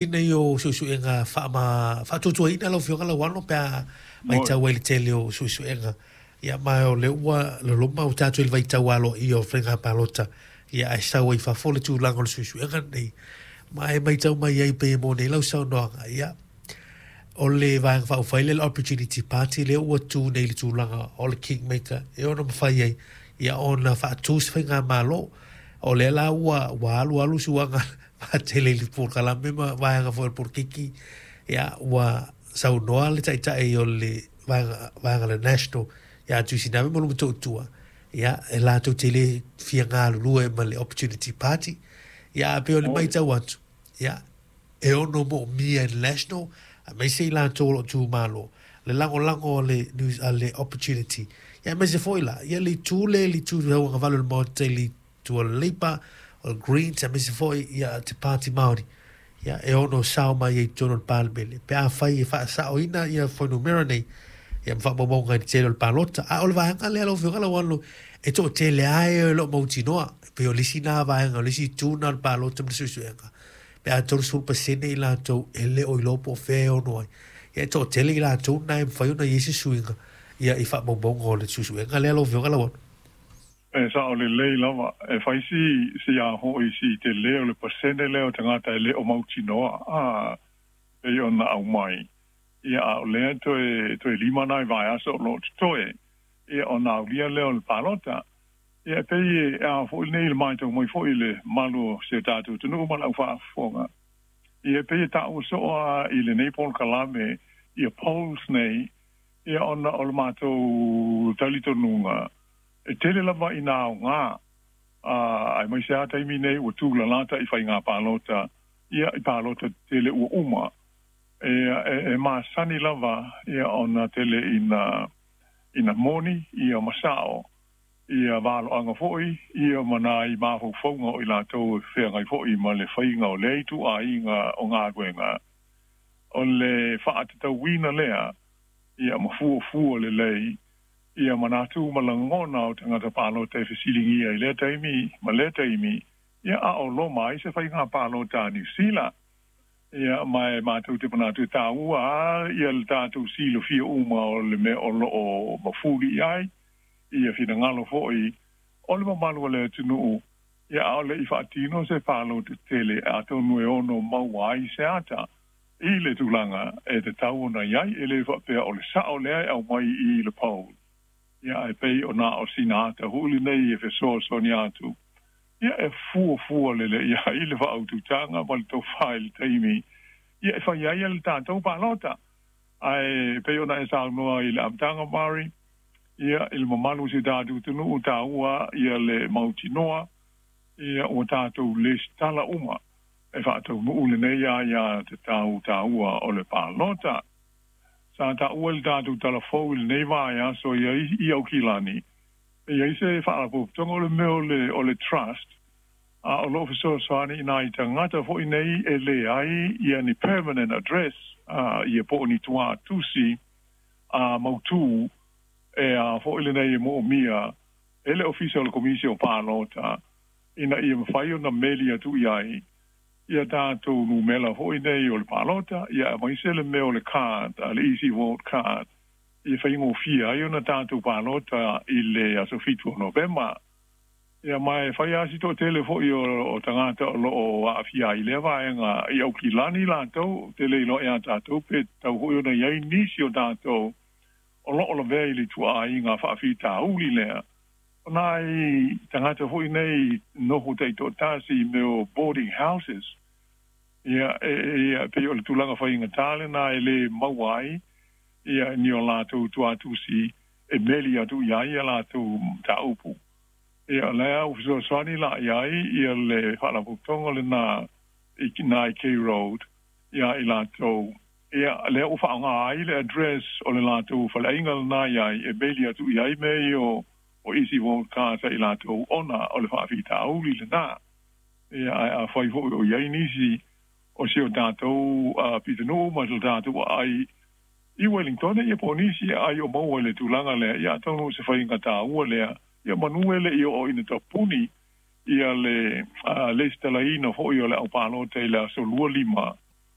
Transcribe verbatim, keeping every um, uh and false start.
Nei o suesuega faama faatuatuaina lau Afioga Lauano pe a matau ai i le tele o suesuega, ia ma o lea ua loloma ua tatou i le vaitau aloaia o faiga palota, ia ae sau ai fafo le tulaga o le suesuega lenei ma e matau mai ai pei e moni ai lau saunoaga. Ia o le Vaega Faaupufai lea, le Opportunity Party lea ua tu nei i le tulaga o le kingmaker e ono mafai ai ia ona faatu se faigamalo. O lea la ua ua alu alu suaga faatele i le polokalame ma vaega foi o le polokiki, ia ua saunoa le taitai o le vaega vaega le National ia Tuisinave ma Lumatautua, ia e latou te le fia galulue ma le Opportunity Party. Ia a pei o le matau atu, ia e ono moomia e le National aemaise i latou o lo o tumalo le lagolago a le news a le Opportunity, ia aemaise foi la ia le itu le le itu tauagavale o le Maota i le itu o le Labour, o le Greens, aemaise foi ia te Pāti Māori, ia e ono sao mai ai i totonu o le Palemene pe afai e faasaoina ia fuainumera nei ia ma faamaumauga i le tele o le palota. A o le vaega lea lau Afioga Lauano e toatele lava e o lo o mautinoa pei o le isi na vaega o le isi itu na o le palota ma le suesuega pe a tolusefulu pasene i latou e le o iloa po o fea e ono ai, ia e toatele i latou na e mafai ona i ai se suiga ia i faamaumauga o le suesuega lea lau Afioga Lauano. E sao lelei lava, e fai si si a hoi si te leo le pasene lea o tagata e le o mautinoa a e ona aumai. Ia a o lea toe toe lima nai vaiaso o lo o totoe ia ona aulia lea o le palota. Ia e pei e a foʻi nei le matau mai foi le malu o si o tatou atunuu ma le aufaafofoga. Ia e pei e taua soo a i lenei polokalame ia polls nei, ia ona o le matou talitonuga e tele lava ina aoga a aemaise lava taimi nei ua tulalata i faiga palota, ia i palota tetele ua uma. E, e, e masani lava ia ona tele ina ina moni ia ma sao ia valoaga foi ia ma nai mafaufauga o i latou e feagai foi ma le faiga o lea ituaiga o galuega. O le faatatauina lea ia ma fuafua lelei ia manatu ma lagona o tagata palota e fesiligia i lea taimi ma lea taimi, ia a o loma ai se faiga palota a Niu Sila. Ia ma e matou te manatu e taua a ia le tatou silafia uma o le mea o loo mafuli i ai ia finagalo foi o le mamalu o le atunuu, ia ʻaʻole i faatino se palota tele atonu e ono maua ai se ata i le tulaga e tatau ona i ai. E le faapea o le sao lea e aumai i le poll, ia ae pei o na o sina ata foi lenei e fesoasoani atu ia e fuafua lelei ai le faaututaga ma le tofa i le taimi ia e fai ai le tatou palota. Ae pei ona e saunoa i le amataga, Mari, ia i le mamalu o si o tatou atunuu, taua ia le mautinoa ia ua tatou lesitala uma e faataunuu lenei aiā tatau taua o le palota. Sa taua i le tatou talafou i lenei vaiaso ia i Aukilani e i ai se faalapotopotoga o le mea o le o le trust a o loo fesoasoani i nai tagata foi nei e leai ia ni permanent address a ia po o ni tuatusi a mautū e a foi lenei e moomia e le ofisa o le komisi o palota ina ia mafai ona meli atu i ai ia tatou numera foi nei o le palota, ia aemaise le mea o le card a le easy vote card ia faigofie ai ona tatou palota i le aso fitu o Novema. Ia ma e fai lava si toatele foi o, o tagata o loo aafia ai i lea vaega i Aukilani latou ou te le iloa iā tatou pe tatau foi ona i ai nisi o tatou o loo lavea i le ituaiga faafitauli lea. O nai tagata foi nei nofo taitoatasi i mea o boarding houses, ia e, e, pei o le tulaga faigata lena e le maua ai ia ni o latou tuatusi e meli atu i ai ia latou mataupu. Ia lea ua fesoasoani la i ai ia le faalapotopotoga lena i nai K Road ia i latou, ia lea ua faaaoga ai le address o le latou faleaiga lena i ai e meli atu i ai mea ia o o easy vote cards a i latou ona o le faafitauli lena. Ia ae afai foi o i ai nisi o si o tatou pitonuu ma so tatou aai i Wellington ia po o nisi aai o maua i le tulaga lea, ia atonu o se faiga taua lea ia manu e leʻi oo ina tapuni ia le lesitalaina foi o le aupalota i le aso lua lima.